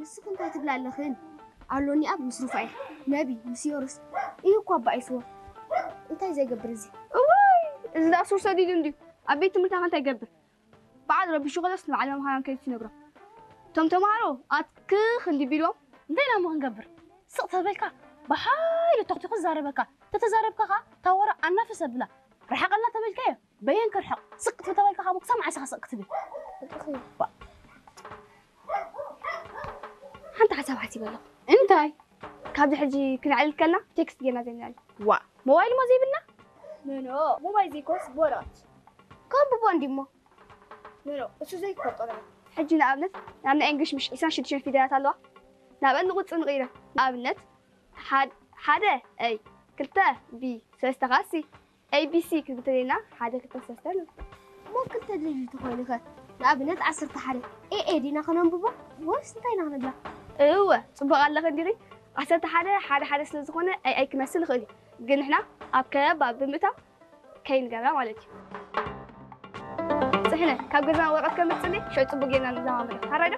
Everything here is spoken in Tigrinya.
ንስኺ እንታይ ትብላ ኣለኽን? ኣሎኒ ኣብ ምስ ሩፋኤል፣ ነቢ፣ ምስ ዮርስ እዩ እኮ ኣባኢስዎ። እንታይ ዘይገብር እዚ? እዋይ፣ እዚ ደኣ ሱር ሰዲዱ እንድዩ። ኣብ ቤት ትምህርትና ከ እንታይ ይገብር? በዓል ረቢሹ ከሎስ ንበዓል መምህራን ከይዱ ይነግሮም። እቶም ተምሃሮ ኣትክኽ እንዲ ቢልዎም፣ እንታይ ኢና እሞ ክንገብር? ስቕ ተበልካ ብሓይሊ ተኽቲኹ ዝዛረበካ። ተተዛረብካ ኸዓ እታ ወረ ኣናፍስ ኣብላ። ርሓቐልና ተበልካዮ በየን ክርሕቕ? ስቕ ክትብል ተበልካ ኸዓ እሞ ክሳብ መዓስ ኢኻ ስቕ ክትብል? ሓንቲ ሓሳብ ሓሲበ ኣለኹ። እንታይ? ካብዚ ሕጂ ክነዕልል ከልና ቴክስት ጌርና ዘይንዕልል። ዋ፣ ሞባይል እሞ ዘይብልና? ኖ፣ ኖ፣ ሞባይል ዘይኮስ ብወረቐት። ከንብቦ እንዲሞ። ኖ፣ ኖ፣ እሱ ዘይትፈልጦ ነገር። ሕጂ ንኣብነት ናብ ናይ እንግሊሽ ምሽ ዒስራን ሽዱሽተን ፊደላት ኣለዋ። ናብአን ንቑጽሪ ንቕይረን። ንኣብነት ሓድ-፣ ሓደ ኤ፣ ክልተ ቢ፣ ሰለስተ ኸዓ ሲ። ኤ ቢ ሲ ክንብል ተደሊና ሓደ ክልተ ሰለስተ ንብል። እሞ ክልተ ደሊሉ ተኾይኑ ኸ? ንኣብነት ዓሰርተ ሓደ ኤ ኤ ዲና ከነንብቦ ወይስ እንታይ ኢና ክንብላ? እወ፣ ጽቡቕ ኣለኺ እንዲኺ። ዓሰርተ ሓደ ሓደ ሓደ ስለ ዝኾነ ኤ ኣይ ክመስል ይኽእል እዩ። ግን ንሕና ኣብ ከበባ ብምእታው ከይንገብራ ማለት እዩ። ጽሕነ፣ ካብ ገዛና ወረቐት ከምጽእኒ፣ ሽዑ ጽቡቕ ጌርና ንለማመዶ። ሓራይ ዶ?